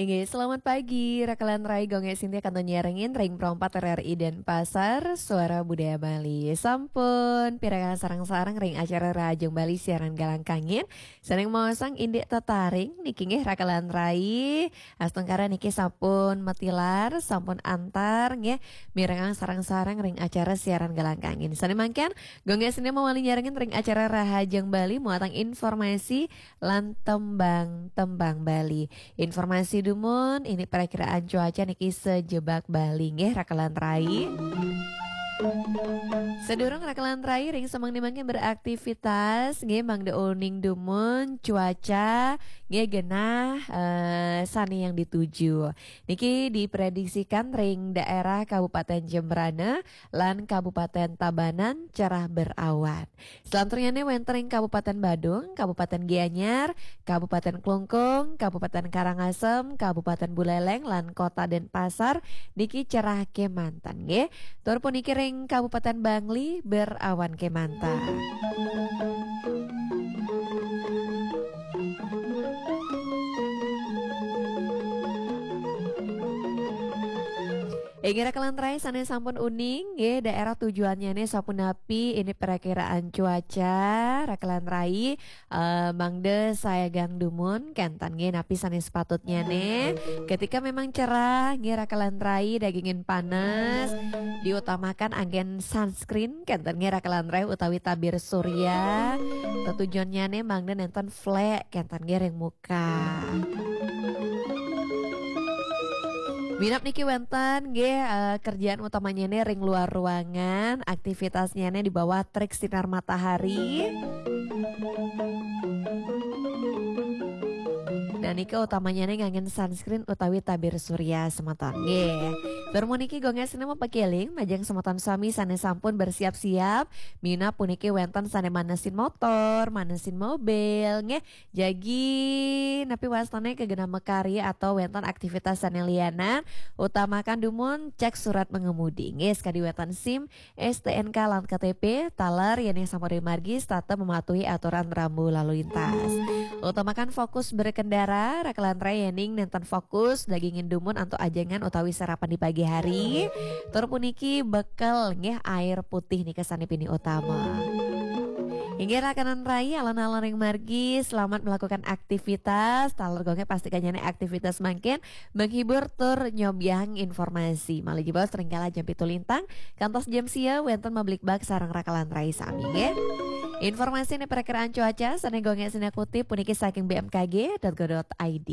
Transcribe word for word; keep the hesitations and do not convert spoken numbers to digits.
Inggih, selamat pagi, Raka lan Rai, Gung Gé Sintia kantun nyarengin ring Pro empat R R I Denpasar, Suara Budaya Bali. Sampun pirengang sareng-sareng ring acara Rahajeng Bali siaran Galang Kangin. Sané maosang indik tetaring niki nggih, Raka lan Rai. Astungkara niki sampun matilar, sampun antar nggih, mirengang sareng-sareng ring acara siaran Galang Kangin. Sané mangkin, Gung Gé Sintia mawali nyarengin ring acara Rahajeng Bali muatang informasi lan tembang-tembang Bali. Informasi dumun, indik perakiraan cuaca niki sajebag Bali nggih, Raka lan Rai. Sadurung Raka lan Rai ring semeng mangkin beraktivitas nggih, mangda uning dumun cuaca nggih genah, eh, sané yang dituju. Niki diprediksikan ring daerah Kabupaten Jembrana lan Kabupaten Tabanan cerah berawan. Selanturnyané wénten ring Kabupaten Badung, Kabupaten Gianyar, Kabupaten Klungkung, Kabupaten Karangasem, Kabupaten Buleleng, lan Kota Denpasar niki cerah kémanten nggih. Tur puniki ring Kabupaten Bangli berawan kémanten. Inggih, Raka lan Rai sané sampun uning nggih, daerah tujuannyané sapunapi indik perakiraan cuaca, Raka lan Rai, eh, mangda sayagang dumun kénten nggih, napi sané sapatutnyané. Ketika memang cerah nggih, Raka lan Rai, dagingin panas, diutamakan anggén sunscreen kénten nggih, Raka lan Rai, utawi tabir surya. Tetujonnyané mangda nénten flék kénten nggih ring muka. Minab niki wénten nggih, eh, kerjaan utamannyané ring luar ruangan, aktivitasnyané di bawah terik sinar matahari. Nah, niki utamannyané nganggén sunscreen utawi tabir surya semeton nggih. Tur puniki Gung Gé Sintia mapakéling majeng semeton sami sané sampun bersiap-siap. Minab puniki wénten sané manesin motor, manesin mobil nggih. Jagi napi wastané kagenah makarya atau wénten aktivitas sané lianan, utamakan dumun cek surat mengemudi. Nggih, sakadi wénten SIM, STNK lan KTP, taler yéning sampun rimargi setata mematuhi aturan rambu lalu lintas. Utamakan fokus berkendara, Raka lan Rai, yéning nénten fokus dagingin dumun antuk ajengan utawi sarapan di pagi hari. Tur puniki bekel nggih, air putih nika sané pinih utama. Inggih, Raka lan Rai, alon-alon ring margi, selamat melakukan aktivitas. Taler Gung Gé pastikannyané aktivitas mangkin menghibur tur nyobiahang informasi. Malih jebos ring kala jam pitu lintang kantos jam sia wénten mablikbak sareng Raka lan Rai sami nggih. Informasi indik perakiraan cuaca sané Gung Gé Sintia kutip puniki saking B M K G dot go dot I D.